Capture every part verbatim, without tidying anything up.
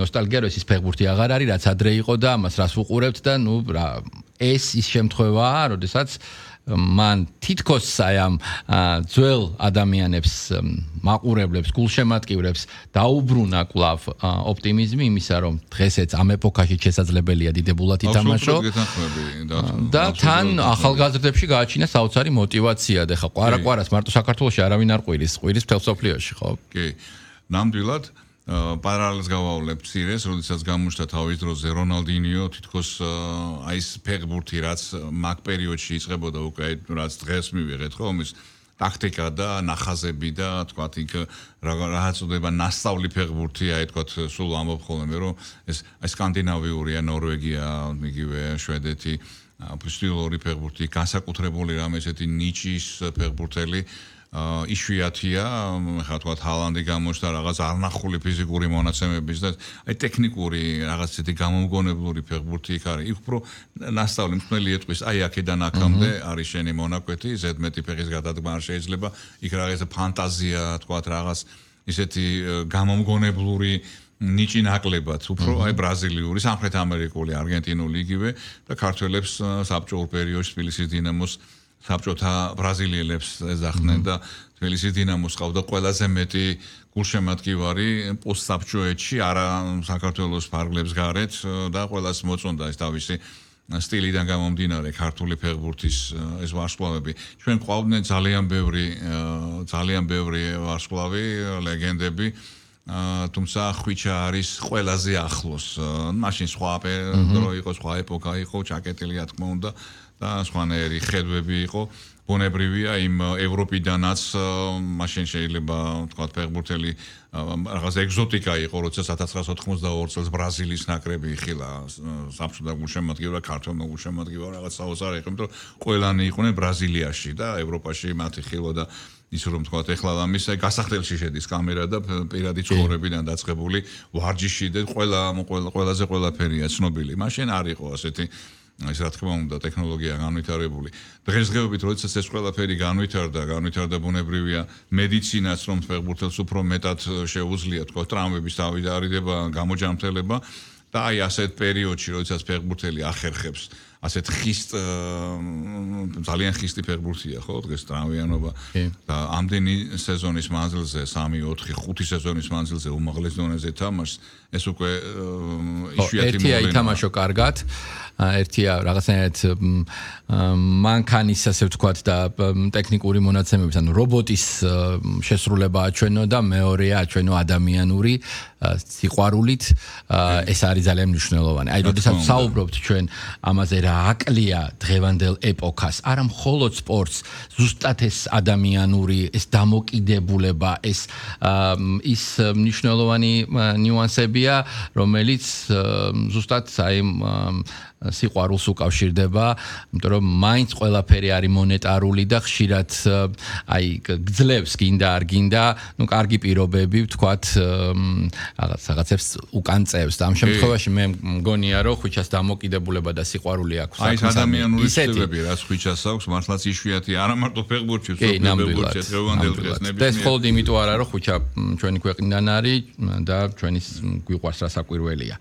ნოსტალგია რომ ეს ფეხბურთი აღარ არის რაც ადრე იყო და ამას რას ვუყურებთ და ნუ რა ეს ის შემთხვევაა როდესაც მან თითქოს აი ამ ძველ ადამიანებს მაყურებლებს გულშემატკივრებს დაუბრუნა კვლავ ოპტიმიზმი იმისა რომ დღესაც ამ ეპოქაში შესაძლებელია დიდებულად ითამაშო და თან ახალგაზრდებში გააჩინა საოცარი მოტივაცია და ხა ყვარაყვარას მარტო საქართველოში არავინ არ ყვირის ყვირის მთელ სოფლიოში ხო კი ნამდვილად პარალელს გავავლებ ცირეს, როდესაც გამოჩნდა თავის დროზე რონალდინიო, თითქოს აი ეს ფეხბურთი რაც მაგ პერიოდში იწყებოდა უკვე რაც დღეს მივიღეთ, ხო, ის ტაქტიკა და ნახაზები და თქვათ იქ რაღაც უდება ნასწავლი ფეხბურთი, აი თქვათ სულ ამბობ ხოლმე რომ ეს აი სკანდინავიურია, ნორვეგია, იგივე შვედეთი, ფსტილური ფეხბურთი, განსაკუთრებული რამე ესეთი ნიჩის ფეხბურთელი იშვიათია, ხა თქვათ ჰალანდი გამოჩნდა რაღაც არნახული ფიზიკური მონაცემების და აი ტექნიკური რაღაც ისეთი გამომგონებლური ფეხბურთი იქ არის. იქ უფრო ნასწავლი მთელი ეტყვის, აი აქედან აქამდე არის შენი მონაკვეთი, ზედმეტი ფეხის გადადგმა არ შეიძლება, იქ რაღაც ფანტაზია, თქვათ რაღაც ისეთი გამომგონებლური ნიჭი ნაკლებად, უფრო აი ბრაზილიური, სამხრეთ ამერიკული, არგენტინული იგივე და ქართველებს საბჭოურ პერიოდში თბილისის დინამოს საბჭოთა ბრაზილიელებს ეძახდნენ და თბილისის დინამოს ყავდა ყველაზე მეტი გულშემატკივარი პოსტსაბჭოეთში, არა საქართველოს ფარგლებს გარეთ და ყველას მოწონდა ეს თავისი სტილიდან გამომდინარე ქართული ფეხბურთის ეს ვარსკვლავები. ჩვენ ყავდნენ ძალიან ბევრი ძალიან ბევრი ვარსკვლავი, ლეგენდები, თუმცა ხვიჩა არის ყველაზე ახლოს. მაშინ სხვა დრო იყო, სხვა ეპოქა იყო, ჩაკეტილი რა თქმა უნდა. და სხვანაირი ხედვები იყო ბუნებრივია იმ ევროპიდანაც მაშინ შეიძლება თქვათ ფეხბურთელი რაღაც ეგზოტიკა იყო როცა ათას ცხრაასა ოთხმოცდაორი წელს ბრაზილიის ნაკრები იხილა საბჭოთა გულშემატკივრა ქართველმა გულშემატკივრა რაღაც საოცარი იყო იმიტომ ყველანი იყვნენ ბრაზილიაში და ევროპაში მათი ხილვა და ის რომ თქვათ ეხლა ამის გასახდელში შედის კამერა და პირადი ცხოვრებიდან დაწყებული ვარჯიში და ყველა ყველაზე ყველაფერია ცნობილი მაშინ არ იყო ასეთი ეს რა თქმა უნდა ტექნოლოგია განვითარებული. დღესდღეობით როდესაც ეს ყველაფერი განვითარდა, განვითარდა ბუნებრივია მედიცინაც რომ ფეხბურთელს უფრო მეტად შეუძლია თქვა ტრამვების დავიდარიდება, გამოჯანმრთელება და აი ასეთ პერიოდში როდესაც ფეხბურთელი ახერხებს ასეთ ხისტ ძალიან ხისტი ფეხბურთია ხო დღეს ტრამვიანობა და ამდენი სეზონის მანძილზე სამი ოთხი ხუთი სეზონის მანძილზე უმაღლეს დონეზე თამაშს ეს უკვე იშვიათი მოვლენაა. ერთია ითამაშო კარგად, ერთია რაღაცნაირად მანქანის ასე ვთქვათ და ტექნიკური მონაცემების ანუ რობოტის შესრულება აჩვენო და მეორეა აჩვენო ადამიანური სიყვარულით ეს არის ძალიან მნიშვნელოვანი. აი როდესაც საუბრობთ ჩვენ ამაზე რა აკლია დღევანდელ ეპოქას, არა მხოლოდ სპორტს, ზუსტად ეს ადამიანური, ეს დამოკიდებულება, ეს ის მნიშვნელოვანი ნიუანსებია, რომელიც ზუსტად აი სიყვარულს უკავშირდება, იმიტომ რომ მაინც ყველაფერი არის მონეტარული და ხშირად აი გძლევს გინდა არ გინდა, ну კარგი პირობები ვთქვათ რაღაც რაღაცებს უკან წევს და ამ შემთხვევაში მე მგონია რომ ხვიჩას დამოკიდებულება და სიყვარული აქვს. აი ეს ადამიანური ცნობები რაც ხვიჩას აქვს, მართლაც იშვიათი, არა მარტო ფეხბურთში, ფეხბურთში დღევანდელ დღეს ნებისმიერ. ეს მხოლოდ იმიტომ არა რომ ხვიჩა ჩვენი ქვეყნიდან არის და ჩვენი გვიყვარს რა საკვირველია.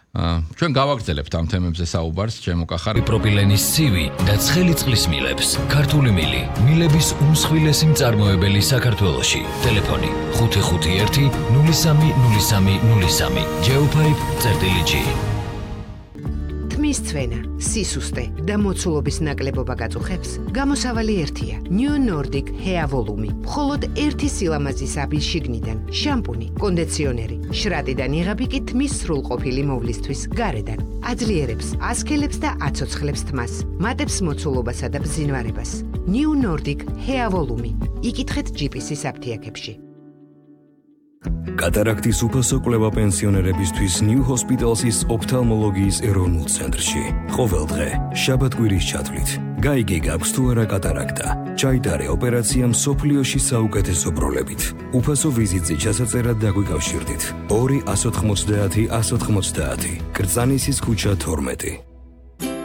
ჩვენ გავაგრძელებთ ამ თემებზე საუბარს, ჩემო კახარი. პროპილენის ცივი და ცხელი წყლის მილებს. ქართული მილი, მილების უმსხვილესი მწარმოებელი საქართველოში. ტელეფონი ხუთი ხუთი ერთი ნული სამი ნული სამი ნული სამი. Geopipe წერტილი G. თმის ცვენა, სისუსტე და მოცულობის ნაკლებობა გაწუხებს, გამოსავალი ერთია. New Nordic Hair Volume. მხოლოდ ერთი სილამაზის აბის შიგნიდან, შამპუნი, კონდიციონერი, შრატიდან იღები კი თმის სრულყოფილი მოვლისთვის გარედან. აძლიერებს, ასქელებს და აცოცხლებს თმას, მატებს მოცულობასა და ბზინვარებას. New Nordic Hair Volume. იკითხეთ ჯიპისის აფთიაქებში. კატარაქტის უფასო კვლევა პენსიონერებისთვის New Hospital's ოფთალმოლოგიის ეროვნულ ცენტრში. ყოველ დღე, შაბათ-კვირის ჩათვლით. გაიგე გაქვს თუ არა კატარაქტა. ჩაიტარე ოპერაცია მსოფლიოში საუკეთესო ბროლებით. უფასო ვიზიტზე ჩასაწერად დაგვიკავშირდით. ორი ათას ოთხმოცდაათი ათას ოთხმოცდაათი. კრწანისის ქუჩა თორმეტი.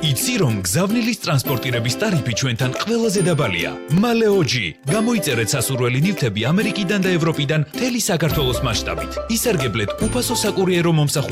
იცი რომ გზავნილის ტრანსპორტირების ტარიფი ჩვენთან ყველაზე დაბალია. მალეოჯი. გამოიწერეთ სასურველი ნივთები ამერიკიდან და ევროპიდან მთელი საქართველოს მასშტაბით. ისარგებლეთ უფასო საკურიერო მომსახურების